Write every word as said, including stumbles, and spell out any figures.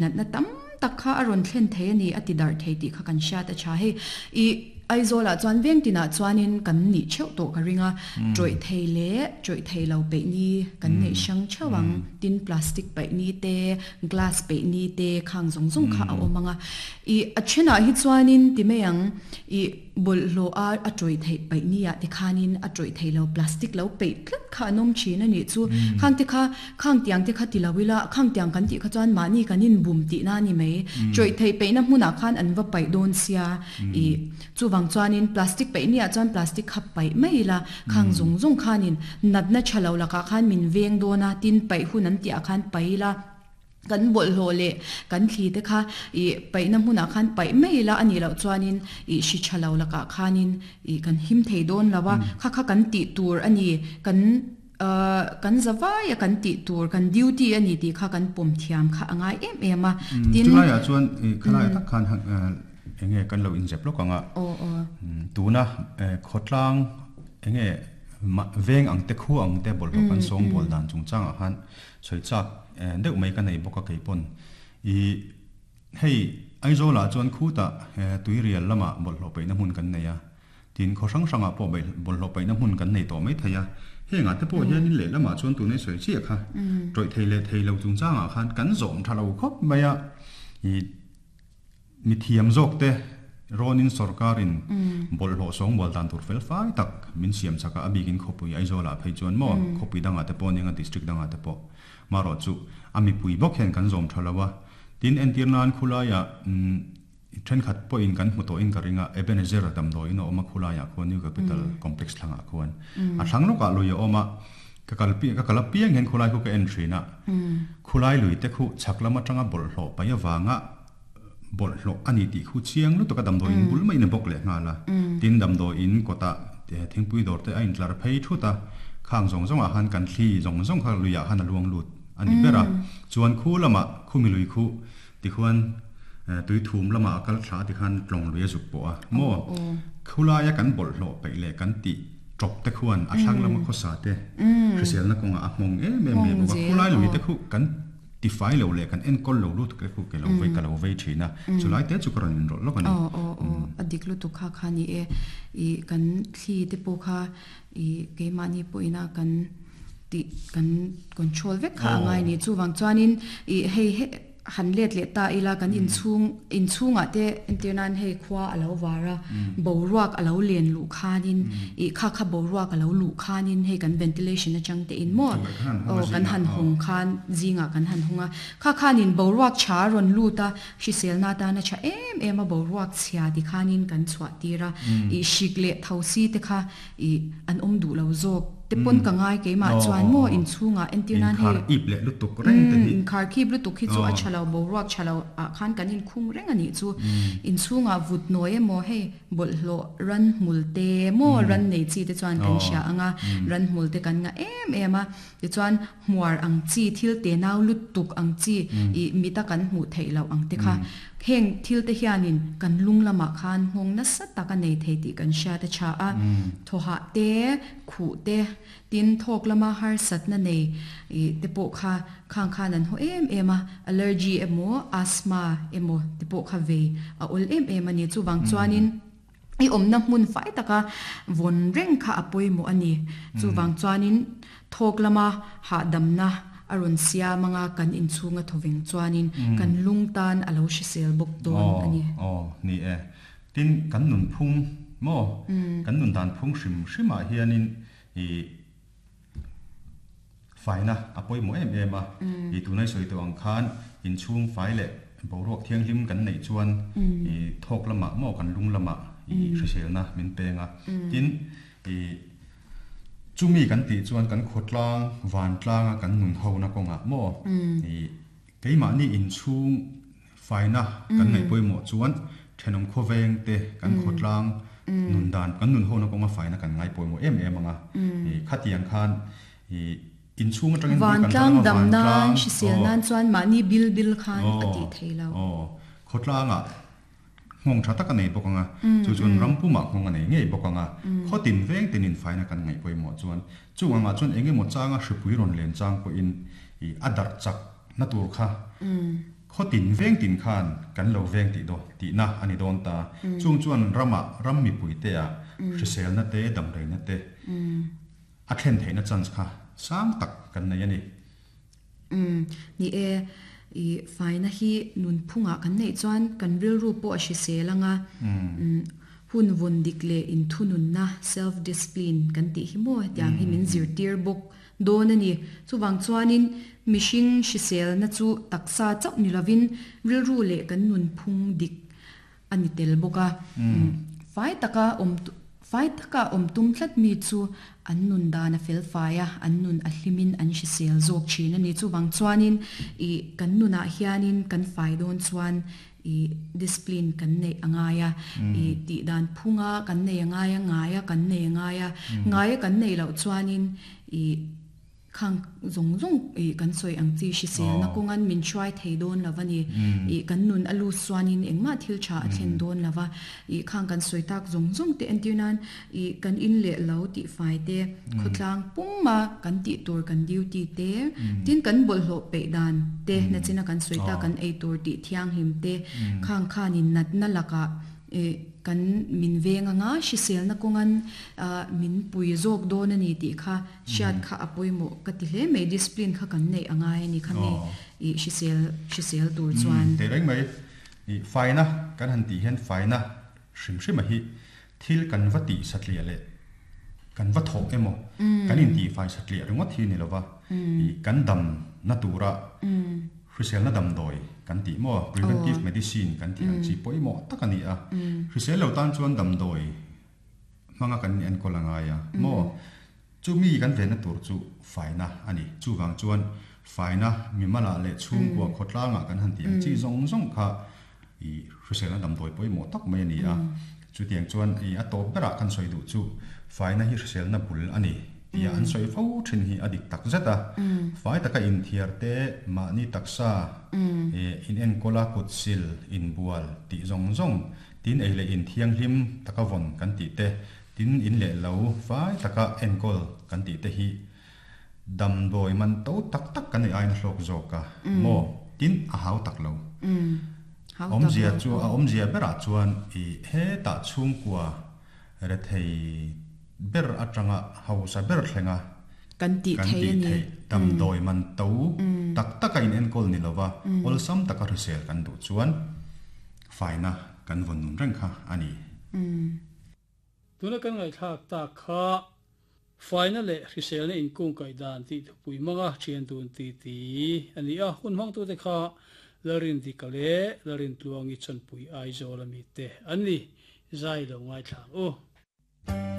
Natna tam tak kha a rawn thlen thei a ni, a ti darh thei tih kha kan hriat a tha. Hei i Aizawl ah chuan veng tinah chuanin kan nih theuh tawh ka ring a, tawih thei leh tawih thei lo peih ni kan neih hrang theuh ang, tin plastic paih ni te, glass peih ni te khang zawng zawng kha a awm ang a. I a thenah hi chuanin ti mai ang i bawlhhlawh a a tawih theih paih ni ah te khanin a tawih thei lo plastic lo peih tlat kha an awm thin a nih chu. Khang te kha khang tiang te kha ti lo ila khang tiang kan tih kha chuan mahni kan inbum tihna a ni mai. Tawih theih peihna hmunah khan an va paih dawn sia i chuvang chuanin plastic peih ni ah chuan plastic kha paih mai ila khang zawng zawng khanin natna tha lo lakah khan min veng dawn a tin paih hun an tih ah khan paih ila kan bawlhhlawh leh kan thli te kha i paihna hmunah khan paih mai ila a nih loh chuanin i hri tha lo lakah khanin i kan him thei dawn lo a, kha kha kan tih tur a ni, kan ahh kan za vai a kan tih tur, kan duty a ni tih kha kan pawm thiam kha a ngai em em a, tin. Chulaiah chuan i khalaiah tak khan enge kan lo inzep lawk ang a, tuna khawtlang enge veng ang te khu ang te bawlhhlawh kan sawngbawl dan chungchangah khan sawi chak deuh mai ka nei bawk a kei pawn. I hei Aizawlah chuan khutah tuirial lamah bawlhhlawh peihna hmun kan nei a, tin khaw hrang hrangah pawh bawlhhlawh peihna hmun kan nei tawh mai thei a. Hengah te pawh hianin lehlamah chuan tunei sawi chiah kha tawih thei leh thei lo chungchangah khan kan zawm tha lo khawp mai a. I mi thiam zawk te rawnin sorkarin bawlhhlawh sawngbawl dan tur fel fai tak min siam chak a, a bikin khawpui Aizawlah phei chuan maw khawpui dangah te pawh nia district dangah te pawh marawh chu a mipui bawk hian kan zawm tha lo a. Tin entir nan khulaiah thenkhat pawhin kan hmu tawhin ka ring a, Ebenezer damdawiin a awm a khulaiah khuan New Capital Complex thlangah khuan a thlang lawkah lui a awm a, ka kal ka kal apiang hian khulai khu ka en thin a, khulai lui te khu chhak lam atanga bawlhhlawh paih avanga bawlhhlawh a ni tih khu chiang lutuk a damdawiin bul maiin a bawk leh nghal a, tin damdawiin kawtah thingpui dawr te a intlar phei thut a, khang zawng zawngah khan kan thli zawng zawng kha luiah khan a luang lut a ni ber a, chuan khu lamah khumi lui khu tikhuan tui thum lamah a kal thla tikhan tlawng lui a zuk pawh a maw khulaia kan bawlhhlawh peih leh kan tih tawp te khuan a thlang lama khawsa te hriselna kawngah a hmawng em em mai bawk a, khulai lui te khu kan tifai lo leh kan enkawl lo lut te khu ke lo vei ka lo vei thin a, chulai te chu ka rawn inrawlh lawk a ni. Aw aw aw a dik lutuk kha kha ni e, i kan thli te pawh kha i keimahni pawhina kan tih kan control vek kha a ngai ni, chuvang chuanin i hei he han let leh ta ila kan inchhung inchhungah te entir nan hei khua a lo var a, boruak a lo len luh khanin i kha kha boruak a lo luh khanin hei kan ventilation atang te in maw aw kan han hawng khan zingah kan han hawng a, kha khanin boruak tha a rawn lut a, hriselna atana tha em em a boruak chhia ti khanin kan chhuah tir a, i hrik leh thosi te kha i an awm duh lo zawk te pawn ka ngai keimah chuan maw inchhungah entir nan hei Inkhar ip leh lutuk reng te hi. Inkhar khip lutuk hi chu a tha lo, boruak tha lo ah khan kan inkhung reng a nih chu. Inchhungah vut nawi emaw hei bawlhhlawh ran hmul te maw ran nei chi te chuan kan hria ang a, ran hmul te kan ngah em em a, tichuan hmuar ang chi thil te nau lutuk ang chi ih mita kan hmuh theih loh ang te kha Heng thil te hianin kan lung lamah khan nghawng nasa tak a nei thei tih kan hriat a tha a. Thawhah te, khuh te, tin thawk lama harsatna nei te pawh kha khang khan an haw em em a, allergy emaw asthma emaw te pawh kha vei a awl em em a ni. Chuvang chuanin i awmna hmun fai taka vawn reng kha a pawimawh a ni. Chuvang chuanin thawk lama hahdamna a rawn siam anga kan inchhunga thawveng chuanin kan lung tan a lo hrisel bawk dawn a ni. Aw, aw, ni e. Tin, kan nunphung maw? Kan nun dan phung hrim hrimah hianin i faina a pawimawh em em a. I tunai sawi tawh ang khan inchhung fai leh boruak thianghlim kan neih chuan i thawk lamah maw kan lung lamah i hriselna min peng a. Tin, i Chumi kan tih chuan kan khawtlang vantlanga kan nun hona kawngah maw i keimahni inchhung faina kan ngaih pawimawh chuan thenawm khawveng te kan khawtlang nun dan kan nun hona kawnga faina kan ngai pawimawh em em ang a. I khatiang khan i inchhung atangin bul kan Vantlang tan anga dam nan vantlang hrisel aw nan chuan mahni bil bil khan a aw tih thei lo. Aw khawtlangah Nghawng tha tak a nei bawk ang a, chu chuan ram pumah nghawng a nei ngei bawk ang a, khaw tin veng tinin faina kan ngaih pawimawh chuan chung angah chuan eng emaw changa hripui rawn len chang pawhin ih a darh chak na tur kha Khotin veng tin khan kan lo veng ti do ti na ani don ta chung chuan rama ram mi pui te a hrisel na te dam rei na te a thlen theina chance kha sang tak kan nei ani um ni e i faina hi nun phunga kan nei chuan kan ril ru po a hriselanga um hun vun dikle in thunun na self discipline kan ti hi mo tiang hi min zir tir bok don ani chuwang chuanin mishing hrisel na chu taksa chau ni lovin ril ru le kan nun phung dik ani tel boka fai taka om fai taka om tum thlat mi chu an nun dana fel faia an nun a hlimin an hrisel zawk thin ani chuwang chuanin i kan nuna hianin kan fai don chuan i discipline kan nei angaya i ti dan phunga kan nei angaya ngaya kan nei angaya ngaya kan nei lo chuanin i khang zong zong i kan soi ang chi hrisel na kongan min try thei don lawani i kan nun alu suanin engma thil tha a thlen don lawa i khang kan soi tak zong zong te antinan i kan in le lo ti fai te khotlang pumma kan ti tur kan duty te tin kan bol hlo pe dan te na china kan soi ta kan ei tur ti thiang him te khang khanin nat na laka e kan min venga nga hrisel na kongan min pui zawk don ani ti kha hriat kha apoimo ka ti hle mai discipline kha kan nei angai ani khami i hrisel hrisel tur chuan te reng mai i faina kan han ti hian faina hrim hrim a hi thil kan vati satlia le kan va thok emo kan in ti fai satlia ringot hi ni lova i kan dam na tura hrisel na dam doi kan ti mo preventive medicine kan ti ang chi poimo takani a hrisel lo tan chuan dam doi manga kan en kolanga ya mo chu mi kan ve na tur chu faina ani chu wang chuan faina mi mala le chung kwa khotlanga kan han ti ang chi zong zong kha i hrisel na dam doi poimo tak mai ani a chu tiang chuan i a top bera kan soi du chu faina hi hrisel na bul ani tia an soi fo thin hi adik tak zeta fai taka in thiar te ma ni taksa e in en kola kutsil in bual ti zong zong tin ei le in thiang hlim taka von kan ti te tin in le lo fai taka en kol kan ti te hi dam doi man to tak tak kan ei ain hlok zoka mo tin a hau tak lo om zia chu a om zia bera chuan i he ta chung kwa re thei ber atanga hausa ber thlenga kan ti thei ani dam doi man to tak taka in en kol ni lova ol sam taka hrisel kan du chuan faina kan von nun reng kha ani tuna kan ngai thak ta kha faina le hrisel ne in kung kai dan ti pui manga thian dun ti ti ani a hun mang tu te kha larin di kale larin tluangi chan pui ai zola mi te ani zai lo ngai thang o.